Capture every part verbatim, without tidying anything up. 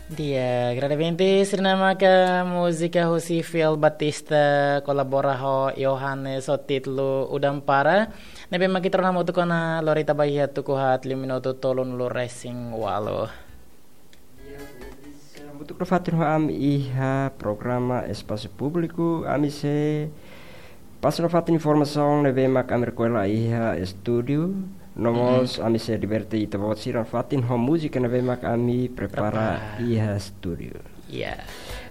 Di'ak, grande ouvinte, sira-ne'e maka múzika husi Fiel Batista kolabora ho Yohanes ho títulu Udan Para. Ne'ebé mak ita rona hamutuk ona lori ita ba iha tuku haat liu minutu tolunulu resin ualu. Hamutuk nafatin ho ami iha programa Espasu Públiku, ami sei pasa nafatin informasaun ne'ebé mak ami rekolla iha estúdiu. No mós ami sei diverte ita-boot sira nafatin ho múzika ne'ebé mak ami prepara iha estúdiu. Ya.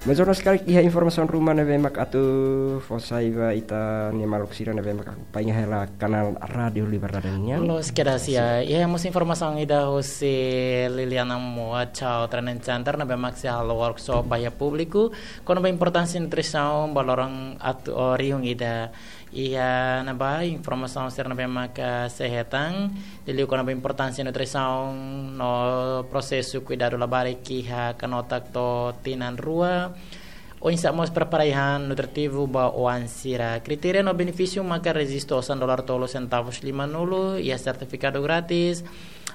Mas ona sekali iha informasaun ruma ne'ebé mak atu fó sai ba ita-nia maluk sira ne'ebé mak akompaña hela kanál Rádiu Liberdade nian. Loos kedas, ya. Iha mós informasaun ida husi Liliana Moa, Chao Training Center ne'ebé mak sei halo workshop ba iha públiku kona-ba importánsia nutrisaun ba loron atu, o, rihun ida. Iha ne'ebá informasaun sira ne'ebé mak sei hetan, liuliu kona-ba importánsia nutrisaun no prosesu kuidadu labarik iha kanotak to'o tinan rua. Oinsá mós prepara ai-han nutritivu ba oan sira. Kritéria no benefísiu maka rejistu osan dolar tolu sentavus limanulu, iha sertifikadu grátis,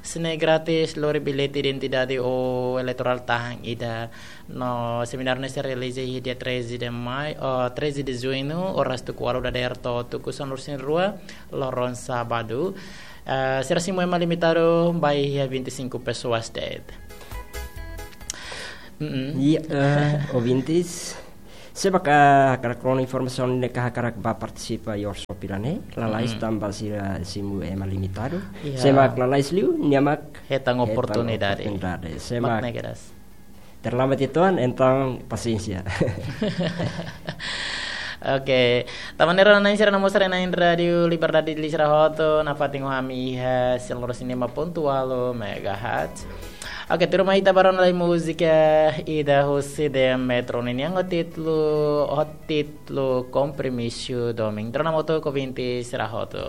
sne grátis, lori billete identidade ou eleitorál tahan ida. No semináriu ne'e sei realiza iha dia treze de maio, oh, treze de junho, oras tuku ualu dadeer to'o tuku sanulu-resin-rua, loron sábadu. Eh, sira simu ema limitadu ba iha vinte e cinco pessoas de'it. Mm-mm. Ya, eh, ouvintes, se mak hakarak rona informasaun ne'e ka hakarak bá partisipa iha workshop ida-ne'e, lalais tanba sira simu ema limitadu. Ya. Se mak lalais liu, nia mak hetan oportunidade. Oportunidade. Se mak ne'e kedas. Terlambat itu, entaun pasiénsia. Oke, tanba ne'e rai-na'in sira, naran sira-na'in Rádiu Liberdade, liuliu sira hotu nafatin ho ami iha cem e cinco ponto oito megahertz. Oke, tuirmai ita bá rona lai múzika ida husi The Metro nian ho títulu, ho títulu Compromisso Domingo. Entaun hamutuk ouvinte sira hotu.